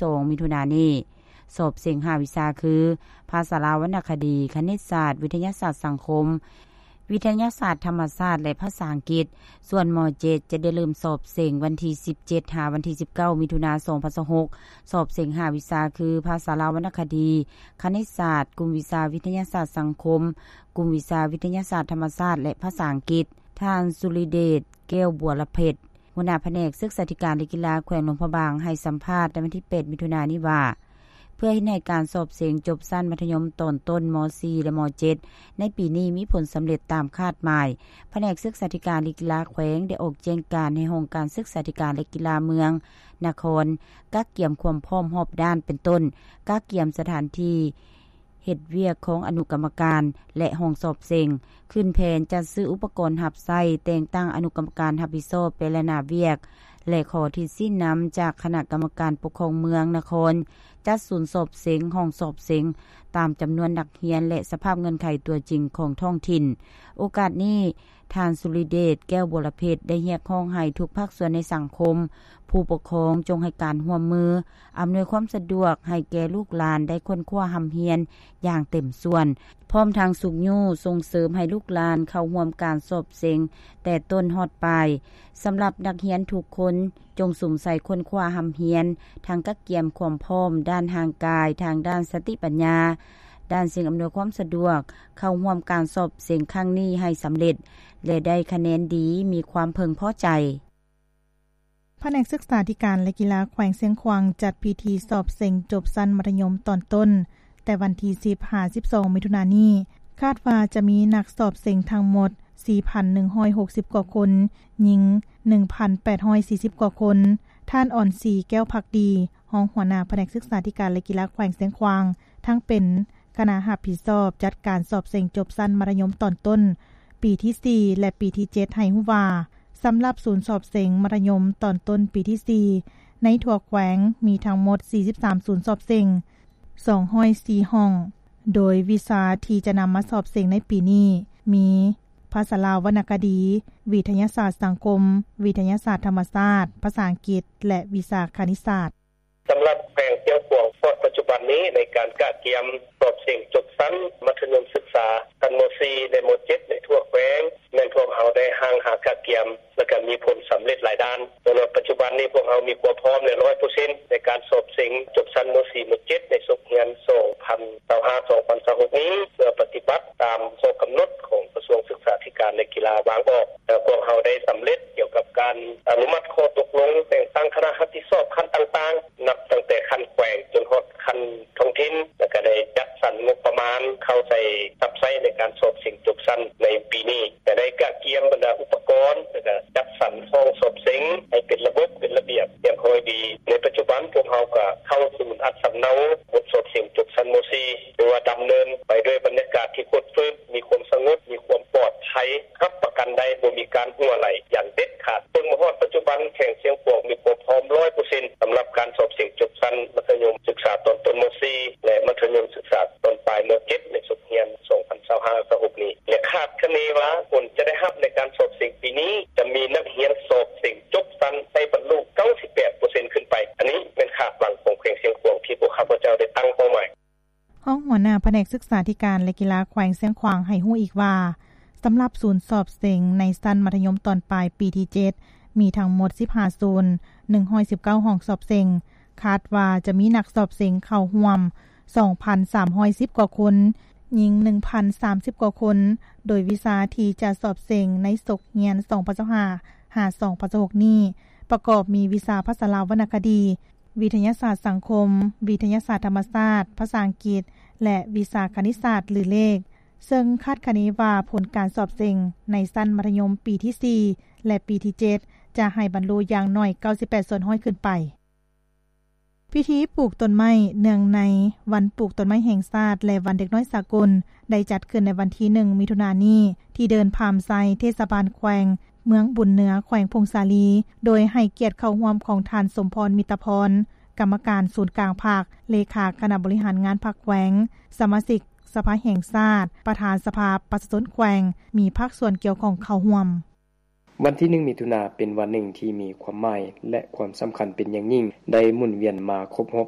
ສອງ ມິຖຸນານີ້. ສອບເສັງຫ້າວິຊາຄື ພາສາລາວວັນນະຄະດີ, ຄະນິດສາດ, ວິທະຍາສາດສັງຄົມ, ວິທະຍາສາດທຳມະຊາດ ແລະ ພາສາອັງກິດ. ສ່ວນ ມ.ເຈັດ ຈະໄດ້ເລີ່ມສອບເສັງວັນທີສິບເຈັດ ຫາວັນທີສິບເກົ້າ ມິຖຸນາ ສອງພັນຊາວຫົກ. ສອບເສັງຫ້າວິຊາຄື ພາສາລາວວັນນະຄະດີ, ຄະນິດສາດ, ກຸ່ມວິຊາວິທະຍາສາດສັງຄົມ, ກຸ່ມວິຊາວິທະຍາສາດທຳມະຊາດ ແລະ ພາສາອັງກິດ. ທ່ານ ສຸລິເດດ ແກ້ວບົວລະເພັດ ຫົວໜ້າພະແນກສຶກສາທິການ ແລະ ກິລາ ແຂວງຫຼວງພະບາງ ໃຫ້ສຳພາດໃນວັນທີແປດ ມິຖຸນານີ້ວ່າ ເພື່ອເຮັດໃຫ້ການສອບເສັງຈົບຊັ້ນມັດທະຍົມຕອນຕົ້ນ ມ.ສີ່ ແລະ ມ.ເຈັດ ໃນປີນີ້ມີຜົນສຳເລັດຕາມຄາດໝາຍ, ພະແນກສຶກສາທິການ ແລະ ກິລາແຂວງ ໄດ້ອອກແຈ້ງການໃຫ້ຫ້ອງການສຶກສາທິການ ແລະ ກິລາເມືອງ, ນະຄອນ ກະກຽມຄວາມພ້ອມຮອບດ້ານ ເປັນຕົ້ນ ກະກຽມສະຖານທີ່ ເຮັດວຽກຂອງອະນຸກຳມະການ ແລະ ຫ້ອງສອບເສັງ, ຂຶ້ນແຜນຈັດຊື້ອຸປະກອນຮັບໃຊ້, ແຕ່ງຕັ້ງອະນຸກຳມະການຮັບຜິດຊອບແຕ່ລະໜ້າວຽກ ແລະ ຂໍທິດຊີ້ນນຳຈາກຄະນະກຳມະການປົກຄອງເມືອງ, ນະຄອນ, ຈັດສູນສອບເສັງ, ຫ້ອງສອບເສັງ ຕາມຈຳນວນນັກຮຽນ ແລະ ສະພາບເງື່ອນໄຂຕົວຈິງຂອງທ້ອງຖິ່ນ. ໂອກາດນີ້, ທ່ານ ສຸລິເດດ ແກ້ວບົວລະເພັດ ໄດ້ຮຽກຮ້ອງໃຫ້ທຸກພາກສ່ວນໃນສັງຄົມ, ຜູ້ປົກຄອງຈົ່ງໃຫ້ການຮ່ວມມື, ອຳນວຍຄວາມສະດວກໃຫ້ແກ່ລູກຫຼານໄດ້ຄົ້ນຄວ້າຮ່ຳຮຽນຢ່າງເຕັມສ່ວນ, ພ້ອມທັງຊຸກຍູ້ສົ່ງເສີມໃຫ້ລູກຫຼານເຂົ້າຮ່ວມການສອບເສັງແຕ່ຕົ້ນຮອດປາຍ. ສຳລັບນັກຮຽນທຸກຄົນ, ຈົ່ງສຸມໃສ່ຄົ້ນຄວ້າຮ່ຳຮຽນ, ທັງກະກຽມຄວາມພ້ອມດ້ານຮ່າງກາຍ, ທາງດ້ານສະຕິປັນຍາ, ດ້ານສິ່ງອຳນວຍຄວາມສະດວກ, ເຂົ້າຮ່ວມການສອບເສັງຄັ້ງນີ້ໃຫ້ສຳເລັດ ແລະ ໄດ້ຄະແນນດີ, ມີຄວາມເພິ່ງພໍໃຈ. ພະແນກສຶກສາທິການ ແລະ ກິລາແຂວງຊຽງຂວາງ ຈັດພິທີສອບເສັງຈົບຊັ້ນມັດທະຍົມຕອນຕົ້ນ ແຕ່ວັນທີສິບ ຫາ ສິບສອງ ມິຖຸນານີ້, ຄາດວ່າຈະມີນັກສອບເສັງທັງໝົດ ສີ່ພັນໜຶ່ງຮ້ອຍຫົກສິບກວ່າຄົນ, ຍິງ ໜຶ່ງພັນແປດຮ້ອຍສີ່ສິບກວ່າຄົນ. ທ່ານ ອອນສີ ແກ້ວພັກດີ ຮອງຫົວໜ້າພະແນກສຶກສາທິການ ແລະ ກິລາແຂວງຊຽງຂວາງ ທັງເປັນຄະນະຮັບຜິດຊອບຈັດການສອບເສັງຈົບຊັ້ນມັດທະຍົມຕອນຕົ້ນປີທີສີ່ ແລະ ປີທີເຈັດ ໃຫ້ຮູ້ວ່າ, ສຳລັບສູນສອບເສັງມັດທະຍົມຕອນຕົ້ນປີທີສີ່ ໃນທົ່ວແຂວງມີທັງໝົດສີ່ສິບສາມສູນສອບເສັງ, ສອງຮ້ອຍສີ່ຫ້ອງ, ໂດຍວິຊາທີ່ຈະນຳມາສອບເສັງໃນປີນີ້ມີ ພາສາລາວວັນນະຄະດີ, ວິທະຍາສາດສັງຄົມ, ວິທະຍາສາດທຳມະຊາດ, ພາສາອັງກິດ ແລະ ວິຊາຄະນິດສາດ. ສຳລັບແຂວງຊຽງຂວາງ ຮອດປັດຈຸບັນນີ້ ໃນການກະກຽມສອບເສັງຈົບຊັ້ນມັດທະຍົມສຶກສາ ຊັ້ນ ມ.ສີ່ ແລະ ມ.ເຈັດ ໃນທົ່ວແຂວງ ແມ່ນພວກເຮົາໄດ້ຮ່າງຫາກະກຽມ ແລະ ກະມີຜົນສຳເລັດຫຼາຍດ້ານ. ສຳລັບປັດຈຸບັນນີ້ ພວກເຮົາມີຄວາມພ້ອມແລ້ວ ຮ້ອຍເປີເຊັນ ໃນການສອບເສັງຈົບຊັ້ນ ມ.ສີ່ ມ.ເຈັດ ໃນສົກຮຽນ ສອງພັນຊາວຫ້າ ສອງພັນຊາວຫົກນີ້ ເພື່ອປະຕິບັດຕາມຂໍ້ກຳນົດຂອງກະຊວງສຶກສາທິການ ແລະ ກິລາວາງອອກ. ແລະ ພວກເຮົາໄດ້ສຳເລັດກ່ຽວກັບການອະນຸມັດຂໍ້ຕົກລົງແຕ່ງຕັ້ງຄະນະຮັບຜິດຊອບຂັ້ນຕ່າງໆ ນັບຕັ້ງແຕ່ຂັ້ນແຂວງຈົນຮອດຂັ້ນທ້ອງຖິ່ນ ແລະ ກະໄດ້ຈັດສັນງົບປະມານເຂົ້າໃສ່ ຮັບໃຊ້ໃນການສອບເສັງຈົບຊັ້ນໃນປີນີ້ ກະໄດ້ກະກຽມບັນດາອຸປະກອນ ແລະ ກະຈັດສັນຫ້ອງສອບເສັງໃຫ້ເປັນລະບົບ ເປັນລະບຽບຮຽບຮ້ອຍດີ. ໃນປັດຈຸບັນພວກເຮົາກະເຂົ້າສູນອັດສຳເນົາບົດສອບເສັງຈົບຊັ້ນ ມ.ສີ່ ຖືວ່າດຳເນີນໄປດ້ວຍບັນຍາກາດທີ່ຟົດຟື້ນ ມີຄວາມສະຫງົບ ມີຄວາມປອດໄພ ຮັບປະກັນໄດ້ບໍ່ມີການຮົ່ວໄຫຼຢ່າງເດັດຂາດ. ເຊິ່ງມາຮອດປັດຈຸບັນ ແຂວງຊຽງຂວາງມີຄວາມພ້ອມ ຮ້ອຍເປີເຊັນ ສຳລັບການສອບເສັງຈົບຊັ້ນມັດທະຍົມສຶກສາຕອນຕົ້ນ ມ.ສີ່ ແລະ ມັດທະຍົມສຶກສາຕອນປາຍ ມ.ເຈັດ ໃນສົກຮຽນ ສອງພັນຊາວຫ້າ ຊາວຫົກນີ້ ແລະ ຄາດຄະເນວ່າຜົນຈະໄດ້ຮັບໃນການສອບເສັງປີນີ້ ຈະມີນັກຮຽນສອບເສັງຈົບຊັ້ນໃຫ້ບັນລຸ ເກົ້າສິບແປດເປີເຊັນ ຂຶ້ນໄປ. ອັນນີ້ແມ່ນຄາດຫວັງຂອງແຂວງຊຽງຂວາງ ທີ່ພວກຂ້າພະເຈົ້າໄດ້ຕັ້ງເປົ້າໝາຍ. ຮອງຫົວໜ້າພະແນກສຶກສາທິການ ແລະ ກິລາແຂວງຊຽງຂວາງໃຫ້ຮູ້ອີກວ່າ, ສຳລັບສູນສອບເສັງໃນຊັ້ນມັດທະຍົມຕອນປາຍປີທີເຈັດ ມີທັງໝົດສິບຫ້າສູນ, ໜຶ່ງຮ້ອຍສິບເກົ້າຫ້ອງສອບເສັງ, ຄາດວ່າຈະມີນັກສອບເສັງເຂົ້າຮ່ວມສອງພັນສາມຮ້ອຍສິບກວ່າຄົນ, ຍິງໜຶ່ງພັນສາມສິບກວ່າຄົນ, ໂດຍວິຊາທີ່ຈະສອບເສັງໃນສົກຮຽນສອງພັນຊາວຫ້າ ຫາ ສອງພັນຊາວຫົກນີ້ ປະກອບມີວິຊາພາສາລາວວັນນະຄະດີ, ວິທະຍາສາດສັງຄົມ, ວິທະຍາສາດທຳມະຊາດ, ພາສາອັງກິດ ແລະ ວິຊາຄະນິດສາດ ຫຼື ເລກ, ເຊິ່ງຄາດຄະເນວ່າຜົນການສອບເສັງໃນຊັ້ນມັດທະຍົມປີທີສີ່ ແລະ ປີທີເຈັດ ຈະໃຫ້ບັນລຸຢ່າງໜ້ອຍເກົ້າສິບແປດສ່ວນຮ້ອຍຂຶ້ນໄປ. ພິທີປູກຕົ້ນໄມ້ເນື່ອງໃນວັນປູກຕົ້ນໄມ້ແຫ່ງຊາດ ແລະ ວັນເດັກນ້ອຍສາກົນ ໄດ້ຈັດຂຶ້ນໃນວັນທີໜຶ່ງ ມິຖຸນານີ້ ທີ່ເດີ່ນພາມໄຊ ເທດສະບານແຂວງ ເມືອງບຸນເໜືອ ແຂວງຜົ້ງສາລີ ໂດຍໃຫ້ກຽດເຂົ້າຮ່ວມຂອງທ່ານ ສົມພອນ ມິດຕະພອນ ກຳມະການສູນກາງພັກ, ເລຂາຄະນະບໍລິຫານງານພັກແຂວງ, ສະມາຊິກສະພາແຫ່ງຊາດ, ປະທານສະພາປະຊາຊົນແຂວງ, ມີພາກສ່ວນກ່ຽວຂ້ອງເຂົ້າຮ່ວມ. ວັນທີໜຶ່ງ ມິຖຸນາ ເປັນວັນໜຶ່ງທີ່ມີຄວາມໝາຍ ແລະ ຄວາມສຳຄັນເປັນຢ່າງຍິ່ງ ໄດ້ໝູນວຽນມາຄົບຮອບ